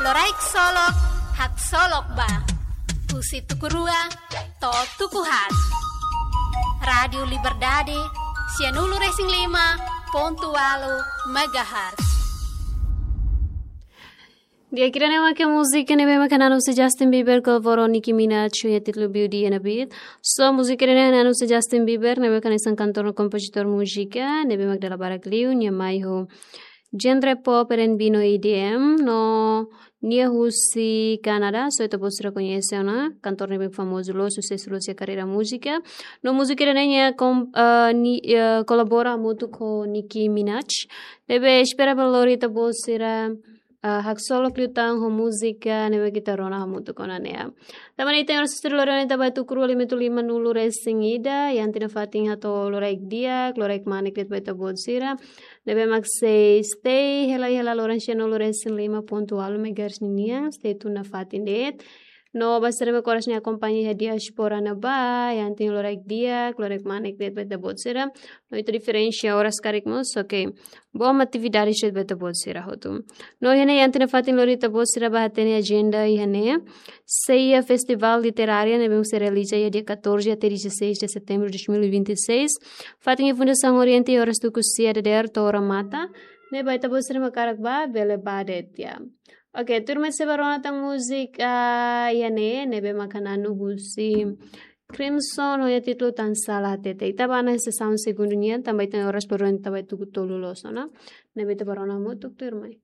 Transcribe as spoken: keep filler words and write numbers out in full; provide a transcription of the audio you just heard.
Loraik Solok, haksolok ba. Husi tuku rua to'o tuku haat. Rádiu Liberdade, sianulu-resin-lima pontu ualu megahertz. Di'ak, ida-ne'e mak múzika ne'ebé mak hanesan husi Justin Bieber kolaborou ho Nicki Minaj, ho títulu Beauty and the Beast. So, múzika ida-ne'e hanesan husi Justin Bieber, ne'ebé mak hanesan kantór no kompozitór múzika, ne'ebé mak dala barak liu nia mai ho genre pop, R and B no E D M, no nia husi Kanadá, so ita-boot sira koñese ona, kantór ne'ebé famozu loos, susesu loos iha karreira múzika. No múzika ida-ne'e nia kom-, eh, ni-, eh, kolabora hamutuk ho Nicki Minaj. Ne'ebé espera ba lori ita-boot sira, eh, haksolok liután ho múzika ne'ebé ita rona hamutuk ona ne'e. Tanba ne'e ita-nia oras sira lori ona iha tuku rua lima nulu resin ida, iha ita-nia fatin hato'o loraik di'ak, loraik manek de'it ba ita-boot sira. Ne'ebé mak sei stay hela iha loron sianulu-resin-lima pontu ualu megahertz ninian, stay tune nafatin de'it. No ba sira mak oras ne'e akompaña iha diáspora ne'ebá, iha ita-nia loraik di'ak, loraik manek de'it ba ita-boot sira. No ita diferensa oras karik mós, oke. Bom atividade de'it ba ita-boot sira hotu. No iha ne'e iha ita-nia fatin lori ita-boot sira ba hatene ajenda iha ne'e. Sei iha Festival Literária ne'ebé sei realiza iha dia catorze até dezasseis de setembro de dois mil e vinte e seis. Fatin iha Fundasaun Oriente, oras tuku sia dadeer to'o remata. Ne'ebé ita-boot sira mak hakarak ba, bele ba de'it. Oke, tuirmai sei bá rona tan múzika iha ne'e, ne'ebé mak hanesan husi Crimson, ho títulu Tan Sala Hatete. Ita bá ona iha sesaun segundu nian, tanba ita-nia oras lori ona iha tuku tolu loos ona. Ne'ebé ita bá rona hamutuk, tuirmai.